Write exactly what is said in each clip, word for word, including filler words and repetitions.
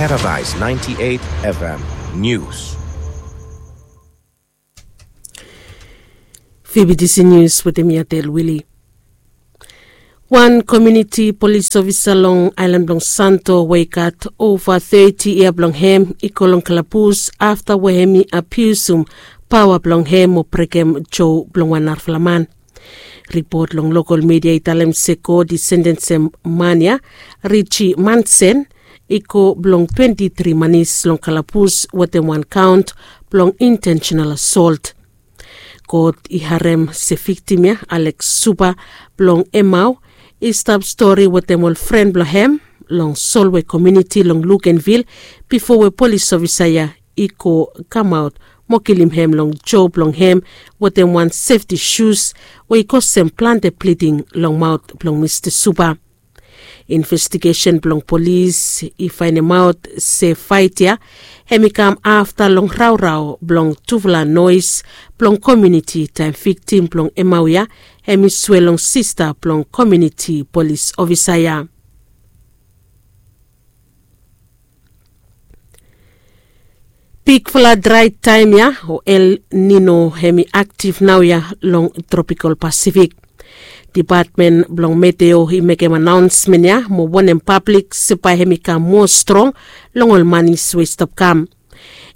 Paradise ninety-eight F M News. Fibidisi Nius wetem mi Atel Wili. Wan komuniti polis ofisa long aelan blong Santo we i gat ova teti yia blong hem i go long kalabus afta we hem i abiusum paoa blong hem mo brekem jo blong wan narafala man. Ripot long lokal midia i talem se kot i sentensim man ya, Richi Mansen, i go blong twenti tri manis long kalabus wetem wan kaon blong intentional asolt. Kot i harem se viktim ya, Alex Suba blong Emau, i stap stori wetem ol fren blong hem long Solway komuniti long Lukenvil bifo we polis ofisa ya i go kamaot mo kilim hem long jo blong hem wetem wan sefti sus we i kosem plante bliding long maot blong Mista Suba. Investigesen blong polis i faenemaot se faet ya hem i kam afta long raorao blong tufala noes blong komuniti taem viktim blong Emau ya hem i swea long sista blong komuniti polis ofisa ya. Bigfala drae taem ya o El Nino hem i aktif naoia long tropikal Pasifik. Depatmen blong Meteo i mekem anaonsmen ya mo wonem pablik se bae hem i kam moa strong long ol manis we i stap kam.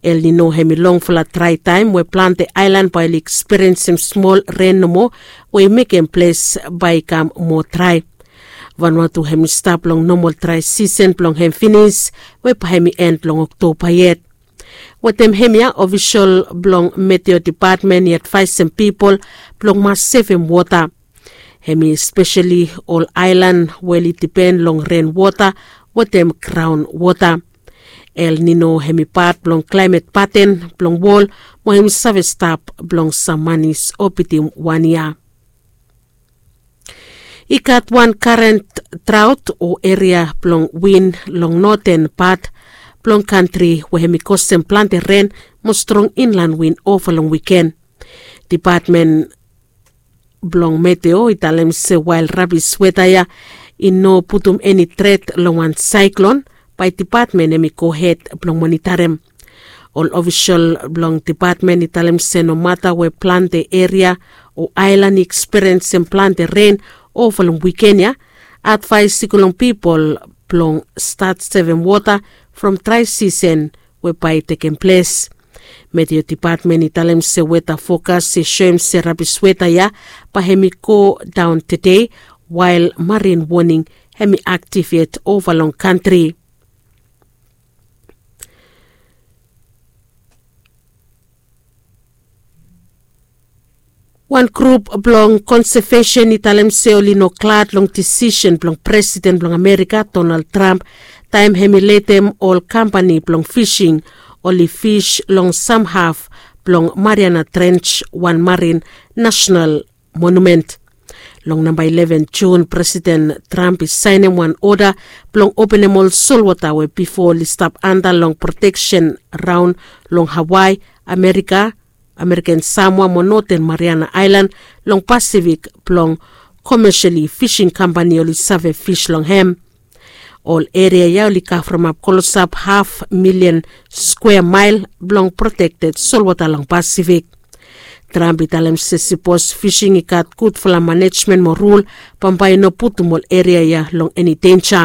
El Nino hem i longfala drae taem we plante aelan bae oli ekspiriensim smol ren nomo we i mekem ples bae i kam moa drae. Vanuatu hem i stap long nomal drae sisen blong hem finis we bae hem i en long Oktoba yet. Wetem hem ya ofisol blong Meteo Depatmen i advaesem pipol blong mas sevem wota. Hem i speseli ol aelan we oli dipen long ren wota wetem graon wota. El Nino hem i pat blong klaemet paten blong wol mo hem i save stap blong sam manis o bitim wan yia. I gat wan karen draot o eria blong win long noten pat blong kantri we hem i kosem plante ren mo strong inlan win ova long wiken. Depatmen blong Meteo i talem se wael rabis weta ya i no putum eni tret long wan saeklon, bae depatmen hem i gohed blong monitarem. Ol ofisol blong depatmen i talem se nomata we plante eria o aelan i ekspiriensim plante ren ova long wiken ya, advaes i go long pipol blong stat sevem wota from drae sisen we bae i tekem ples. Meteo Depatmen i talem se weta fokas i soem se rabis weta ya bae hem i go daon tede, wael marin woning hem i aktif yet ova long kantri. Wan grup blong konsevesen i talem se oli no glad long disisen blong Presiden blong Amerika Donald Trump taem hem i letem ol kampani blong fising oli fis long samhaf blong Mariana Trench, wan marin nasenal monumen. Long namba eleven Jun, Presiden Trump i saenem wan oda blong openem ol solwota we bifo oli stap anda long proteksen raon long Hawaii, Amerika, Ameriken Samoa mo Noten Mariana Aelan long Pasifik blong komeseli fising kampani oli save fis long hem. Ol eria ya oli kavremap klosap haf milian skwea mael blong protekted solwota long Pasifik. Trump i talem se sipos fising i gat gudfala manejmen mo rul, bambae i no putum ol eria ya long eni denja.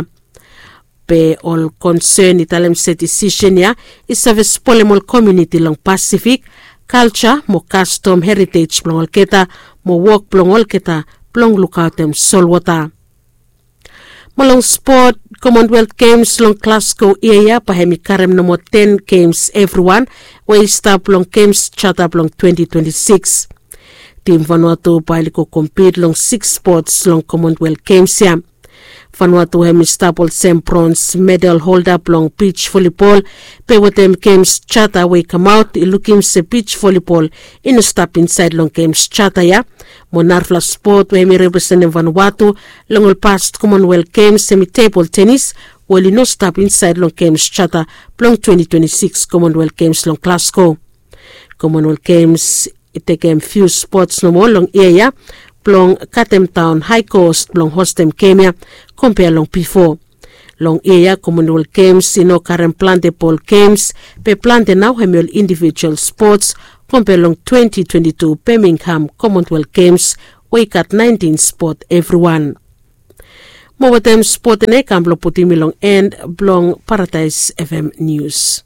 Be ol konsen i talem se disisen ya i save spolem ol komuniti long Pasifik, kalja mo kastom heritej blong olgeta mo wok blong olgeta blong lukaotem solwota. Mo long spot, Commonwealth Games long Glasgow yia ya bae hem i karem nomo ten games evriwan we i stap long Games Charter blong twenty twenty-six. Tim Vanuatu bae oli go kompit long siks spots long Commonwealth Games ya. Vanuatu hem i stap olsem brons medal holda blong bij volibol, be wetem Games Charter we i kamaot i lukim se bij volibol i no stap insaed long Games Charter ya. Mo narafala spot we hem i representem Vanuatu long ol past Commonwealth Games hem i tebol tenis we oli no stap insaed long Games Charter blong twenty twenty-six Commonwealth Games long Glasgow. Commonwealth Games i tekem fiu spots nomo long yia ya blong katemdaon hae kost blong hostem gem ya kompea long bifo. Long yia ya Commonwealth Games i no karem plante bol games, be plante nao hem i ol individual spots. Kompe long twenty twenty-two Birmingham Commonwealth Games we i gat nineteen spot evriwan. Mo wetem spot ene i kam blong putum mi long en blong Paradise F M News.